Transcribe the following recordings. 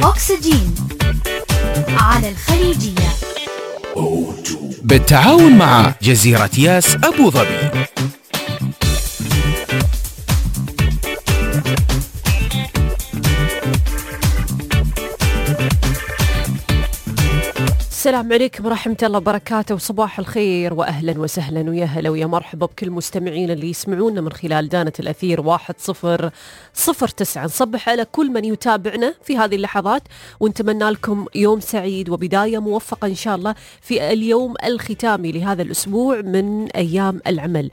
أكسجين على الخليجية بالتعاون مع جزيرة ياس أبو ظبي. السلام عليكم ورحمة الله وبركاته، وصباح الخير وأهلا وسهلا ويا هلا ويا مرحبا بكل مستمعين اللي يسمعونا من خلال دانة الأثير 1009. نصبح على كل من يتابعنا في هذه اللحظات ونتمنى لكم يوم سعيد وبداية موفقة إن شاء الله في اليوم الختامي لهذا الأسبوع من أيام العمل.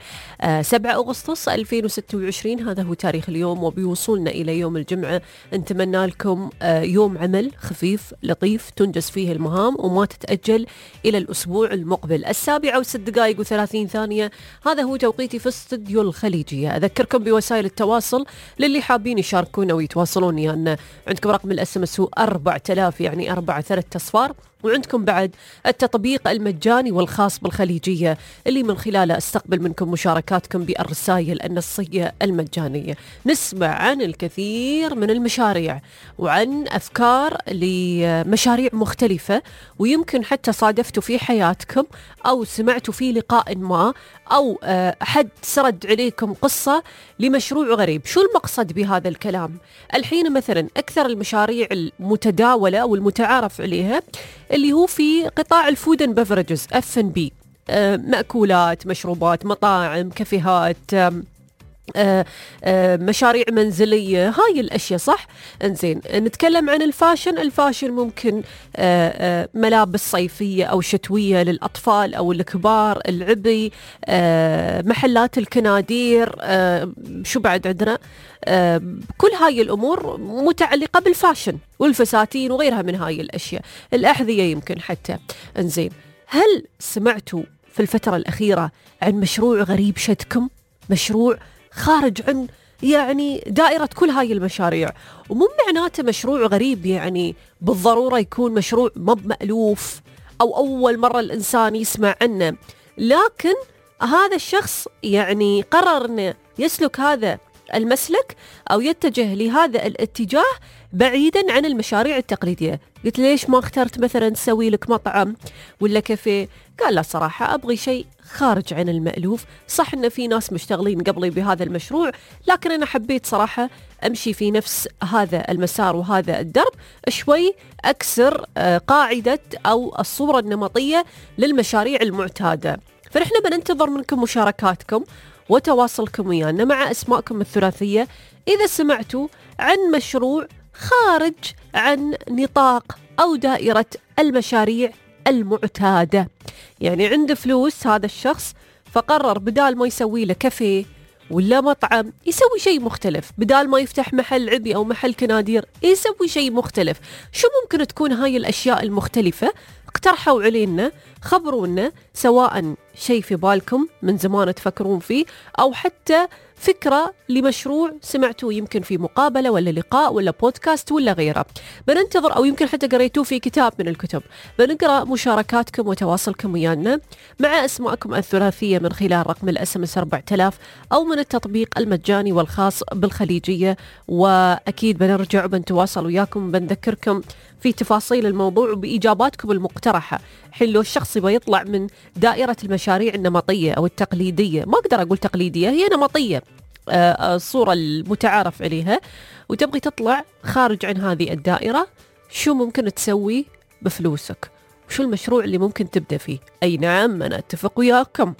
7 أغسطس 2026 هذا هو تاريخ اليوم، وبيوصلنا إلى يوم الجمعة. نتمنى لكم يوم عمل خفيف لطيف تنجز فيه المهام وما تتأجل إلى الأسبوع المقبل. 7:30 هذا هو توقيتي في استوديو الخليجية. أذكركم بوسائل التواصل للي حابين يشاركونا ويتواصلون، يعني عندكم رقم الSMS هو 4000 يعني 4 أصفار، وعندكم بعد التطبيق المجاني والخاص بالخليجية اللي من خلاله استقبل منكم مشاركاتكم بالرسائل النصية المجانية. نسمع عن الكثير من المشاريع وعن أفكار لمشاريع مختلفة، ويمكن حتى صادفتوا في حياتكم أو سمعتوا في لقاء ما أو حد سرد عليكم قصة لمشروع غريب. شو المقصد بهذا الكلام؟ الحين مثلا أكثر المشاريع المتداولة أو المتعارف عليها اللي هو في قطاع الفود اند بفرجز F&B، مأكولات، مشروبات، مطاعم، كافيهات، مشاريع منزلية، هاي الأشياء صح؟ انزين، نتكلم عن الفاشن ممكن ملابس صيفية أو شتوية للأطفال أو الكبار، العبي، محلات الكنادير، شو بعد عندنا؟ كل هاي الأمور متعلقة بالفاشن والفساتين وغيرها من هاي الأشياء، الأحذية يمكن حتى. انزين، هل سمعتوا في الفترة الأخيرة عن مشروع غريب شدكم؟ مشروع خارج عن يعني دائرة كل هاي المشاريع، ومو معناته مشروع غريب يعني بالضرورة يكون مشروع مألوف أو أول مرة الإنسان يسمع عنه، لكن هذا الشخص يعني قرر أنه يسلك هذا المسلك أو يتجه لهذا الاتجاه بعيدا عن المشاريع التقليدية. قلت ليش ما اخترت مثلا تسوي لك مطعم ولا كافيه؟ قال لا صراحة أبغي شيء خارج عن المألوف. صح إن في ناس مشتغلين قبلي بهذا المشروع، لكن أنا حبيت صراحة أمشي في نفس هذا المسار وهذا الدرب، شوي أكسر قاعدة أو الصورة النمطية للمشاريع المعتادة. فنحن بننتظر منكم مشاركاتكم وتواصلكم ويانا مع أسماءكم الثلاثية إذا سمعتوا عن مشروع خارج عن نطاق أو دائرة المشاريع المعتادة. يعني عنده فلوس هذا الشخص، فقرر بدال ما يسوي له كافيه ولا مطعم يسوي شيء مختلف، بدال ما يفتح محل عبي أو محل كنادير يسوي شيء مختلف. شو ممكن تكون هاي الأشياء المختلفة؟ اقترحوا علينا، خبرونا، سواء شيء في بالكم من زمان تفكرون فيه أو حتى فكرة لمشروع سمعتوه يمكن في مقابلة ولا لقاء ولا بودكاست ولا غيره. بننتظر، أو يمكن حتى قريتوه في كتاب من الكتب. بنقرأ مشاركاتكم وتواصلكم ويانا مع أسماءكم الثلاثية من خلال رقم الSMS 4000 أو من التطبيق المجاني والخاص بالخليجية. وأكيد بنرجع وبنتواصل وياكم، بنذكركم في تفاصيل الموضوع وبإجاباتكم المقترحة. حين لو الشخص يبغى يطلع من دائرة المشاريع النمطية أو التقليدية، ما أقدر أقول تقليدية، هي نمطية، الصورة المتعارف عليها، وتبغي تطلع خارج عن هذه الدائرة، شو ممكن تسوي بفلوسك؟ وشو المشروع اللي ممكن تبدأ فيه؟ أي نعم، أنا أتفق وياكم،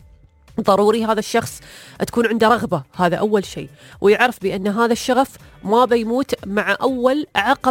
ضروري هذا الشخص تكون عنده رغبة، هذا أول شيء، ويعرف بأن هذا الشغف ما بيموت مع أول عقبة